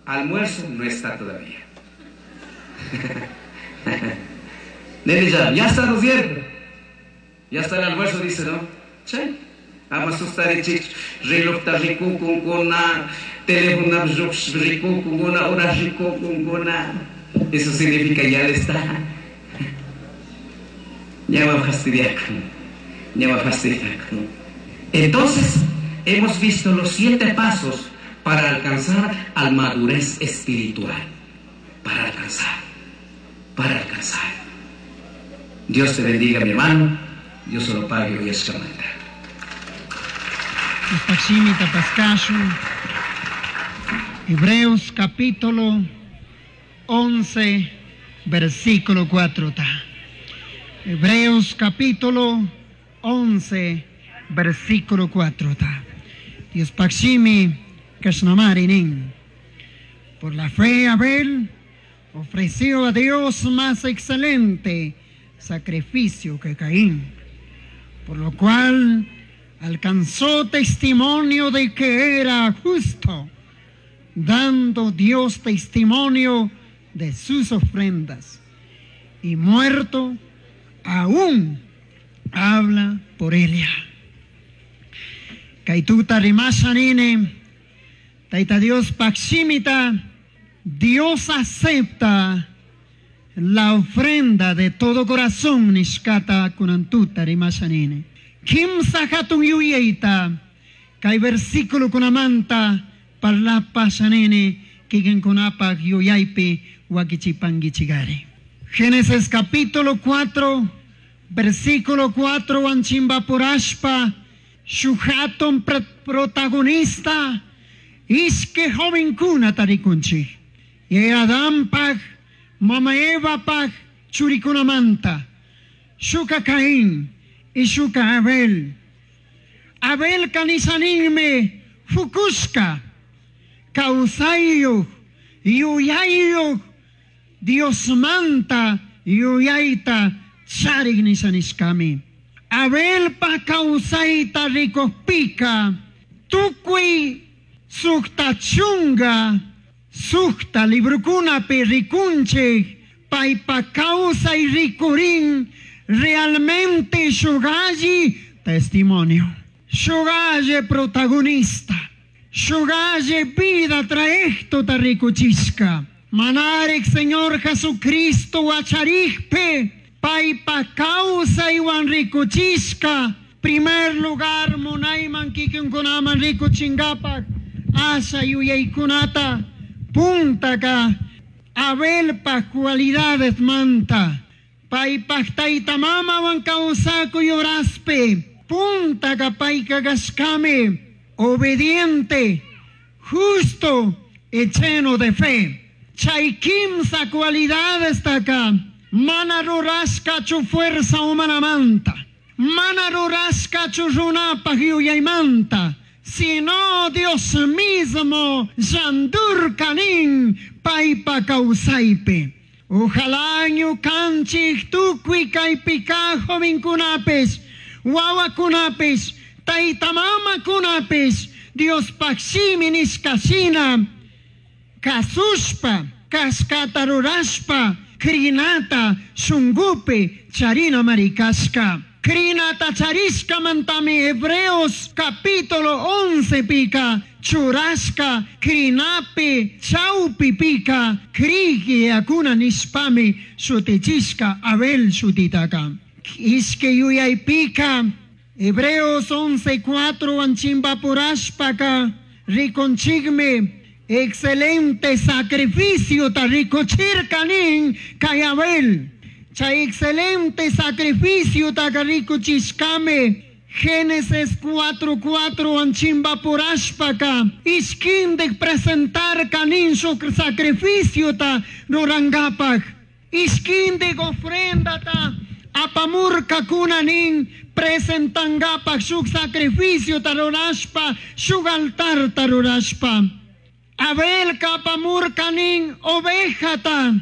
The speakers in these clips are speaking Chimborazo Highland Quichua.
Almuerzo no está todavía. Nene ya, ya está, ¿no es cierto? Ya está el almuerzo, dice, ¿no? Sí. Ama sustarichik, relojta rikukunkuna, teléfono rikukunkuna, hora rikukunkuna. Eso significa ya le está. Ya va a fastidiar. Ya va a fastidiar. Entonces, hemos visto los 7 pasos para alcanzar al madurez espiritual. Para alcanzar. Para alcanzar. Dios te bendiga, mi hermano. Dios se lo pague hoy es camanta. Hebreos capítulo 11, versículo 4. Hebreos capítulo 11, versículo 4. Dios Paximi Kashnamari. Por la fe Abel ofreció a Dios más excelente sacrificio que Caín, por lo cual alcanzó testimonio de que era justo, dando Dios testimonio de sus ofrendas, y muerto aún habla por ella. Kaituta rimashanine, Taita Dios paximita, Dios acepta la ofrenda de todo corazón, nishkata kunantuta rimashanine. Kimsa hatun yuyeita, kay versículo kunamanta, parlapa shanene, kikin kunapa yuyaypi wakichipangichigari. Génesis capítulo 4, versículo 4, anchimbapurashpa, shuhaton protagonista, iske jovencuna tarikunchi. Y Adán pag, mama Eva pag, churikunamanta, shuka Caín y shuka Abel. Abel kanisanime, fukushka, kausayuh, yuyayuh, Dios manta, yuyayta, charik nisanishkami. Abel pa kausayta rikojpika, tukuy sukta chunga, sukta librukunapi rikunchik, paypa kawsay rikurin, realmente shugalli testimonio, shugalli protagonista, shugalli vida trayecto ta rikuchishka. Manarik Señor Jesucristo wacharikpe, paypa kawsaywan rikuchishka, primer lugar munayman kikinkunaman rikuchingapak, asha yuyaykunata, puntaka, Abelpa cualidades manta, paypaj tayta mamawan kawsakuy horaspe, puntaka payka kashkami, obediente, justo y lleno de fe. Chay kimsa cualidades taka, mana rurashkachu fuerza humana manta, mana rurashkachu runapaj yuyaymanta, sino Dios mismo yandur kanin paypa kawsaypi. Ojalá ñukanchik tukuy kaypika jovenkunapis, wawakunapis, tayta mamakunapis, Diospaj shimi nishkashina, kasushpa, kashkata rurashpa, krinata shungupi charina marikashka. Krinata charishka mantami Hebreos capítulo 11 pika, churashka, krinapi, chaupi pika, krigi akuna nishpami, shutichishka, Abel shutitaka. Ishke yuyay pika, Hebreos 11:4 anchimbapurashpaka, rikonchigme, excelente sacrificio ta rikochirkanin kay Abel. Chay excelente sacrificio ta rikuchishkame. Génesis 4:4 anchimbapurashpaka, ishkindik presentar kanin su sacrificio ta rurangapak. Ishkindik ofrenda ta apamurka kunanin presentangapak shuk sacrificio ta rurashpa, shuk altar ta rurashpa. Abel kapamurkanin ovejata,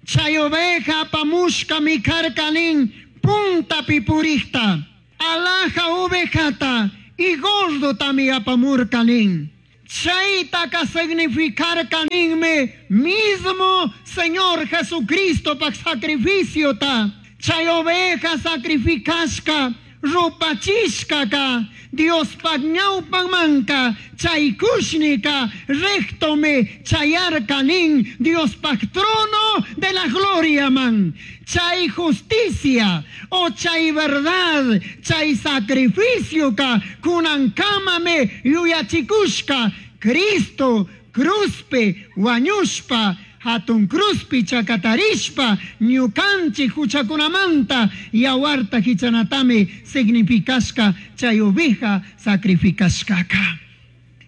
chay oveja apamushka mikarkanin punta pipurikta, alaja ovejata y gordo tami apamurkanin. Chaytaqa significarqa ninmi mismo Señor Jesucristopaq sacrificiota. Chay oveja sacrificashka rupachishkaka Diospaq ñawpanmanka chay kushnika rectome chayarka nin Diospaq trono de la gloriaman. Chay justicia o chay verdad, chay sacrificioka kunankamame yuyachikushka Cristo cruzpi wañushpa hatun cruzpi chakatarishpa ñukanchik huchakunamanta yawarta hichanatami significashka chay oveja sacrificashkaka.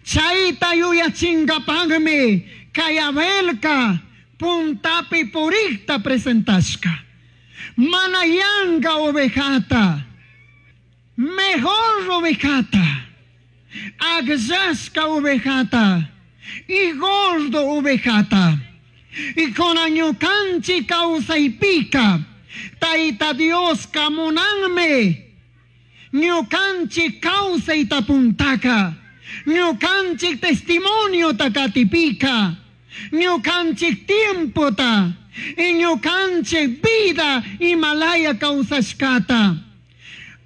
Chayta yuyachinkapaqmi kay Abelka puntapi purikta presentashka. Mana yanka ovejata, mejor ovejata, akllashka ovejata y gordo ovejata. Y con ñukanchik kawsaypika Tayta Dioska munanmi ñukanchik kawsayta puntaka, ñukanchik testimoniota katipika, ñukanchik tiempota y ñukanchik vida imalaya kawsashkata.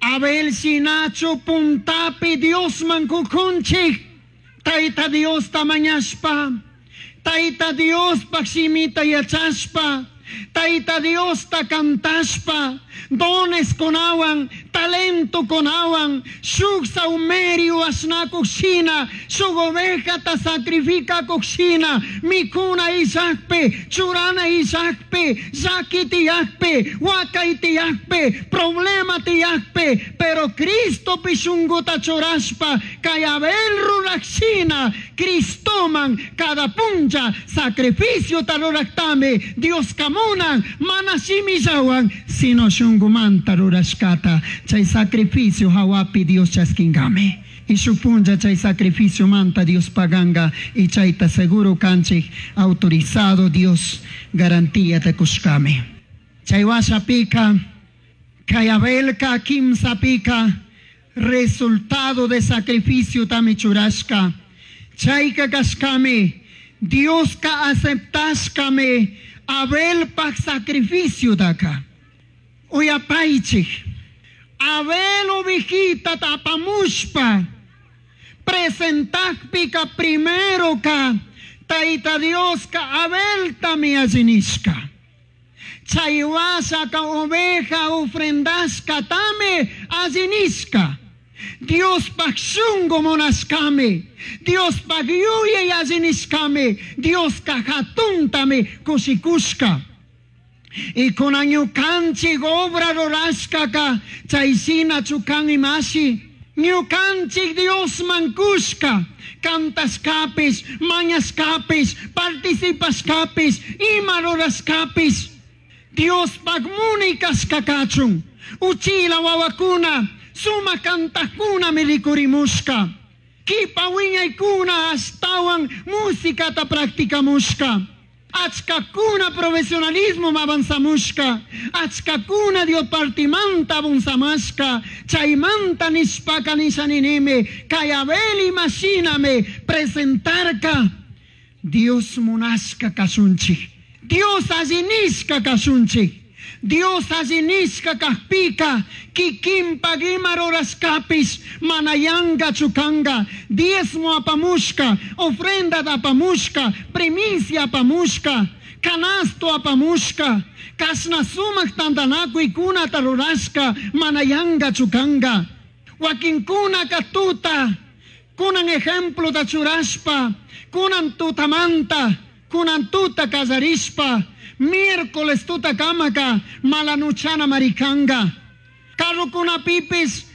Abel shinachu puntapi Diosman kukunchik, Tayta Diosta mañashpa, Tayta Diospaq shimita yachashpa, Tayta Diosta cantashpa, dones kunawan, talento kunawan, shuk saumerio ashnakuq shina, shuk ovejata sacrificakuq shina, mikuna illakpi, churana illakpi, llaki tiyakpi, wakay tiyakpi, problema tiyakpi, pero Cristopi shunkuta churashpa, kay Abel ruraq shina, Cristoman cada puncha sacrificiota ruraktami Dioska munan, mana shimillawan, sino shunkumanta rurashkata, chay sacrificio hawapi Dios chaskinkami. Y shuk puncha chay sacrificio manta Dios paganga y chayta seguro kanchik autorizado Dios garantía ta kushkami. Chay washapika, kay Abelka kimsapika, resultado de sacrificio tami churashka. Chayka kashkami, Dioska aceptashkami Abelpak sacrificio daka. Uyapaychik, Abel ovejita tapamushpa, presentakpika primero ka, Tayta Dioska Abeltami allinishka. Chay washaka oveja ofrendashka tami allinishka. Diospaq shunku munashkami, Diospaq yuyay allinishkami, Dioska hatuntami kushikushka. Y kunan ñukanchik obra rurashkaka chay shinachu kan imashi, ñukanchik Diosman kushka, cantashkapish, mañashkapish, participashkapish, ima rurashkapish, Diospaq munay kashka kachun, uchila wawakuna, sumak cantajkunami rikurimushka, kipa wiñaykuna ashtawan musicata practicamushka, achkakuna profesionalismo avanzamushka, achkakuna Dios partimanta avanzamashka, chaymanta nishpaka nishaninimi, kay Abel imashinami presentarka, Dios munashka kashunchik, Dios allinishka kashunchik, Dios allinishka kajpika, kikinpak ima rurashkapish mana yankachu kanka, diezmo apamushka, ofrenda apamushka, primicia apamushka, canasto apamushka, kashna sumak tantanakuykunata rurashka mana yankachu kanka. Wakinkunaka tuta, kunan ejemplota churashpa, kunan tutamanta, kunan tuta kallarishpa, miércoles tuta kamaka, malanuchana marikanga. Carrokunapipis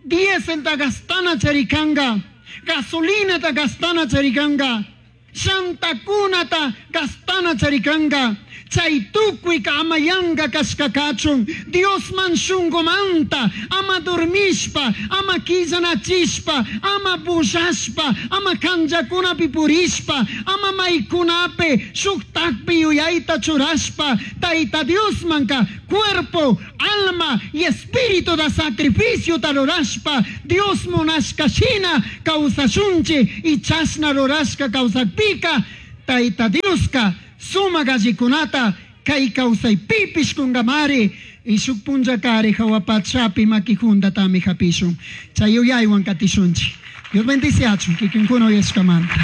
dieselta gastana charikanga, gasolinata gastana charikanga. Shantakunata gastana charikanga. Chay tukuyka ama yanka kashka kachun. Diosman shunkumanta ama dormishpa, ama killanachishpa, ama bullashpa, ama kanllakunapi purishpa, ama maykunapi shuktakpi yuyayta churashpa, Tayta Diosmanka cuerpo, alma y espíritu da sacrificio rurashpa, Dios munashka shina kawsashunchik y chashna rurashka kawsakpika, Tayta Dioska sumak allikunata kay kawsaypipish kungamari y shuk punllakari jahua pachapi makijuntatami hapishun. Chay yuyaywan katishunchik. Dios bendiciachun kikinkuna uyashkamanta.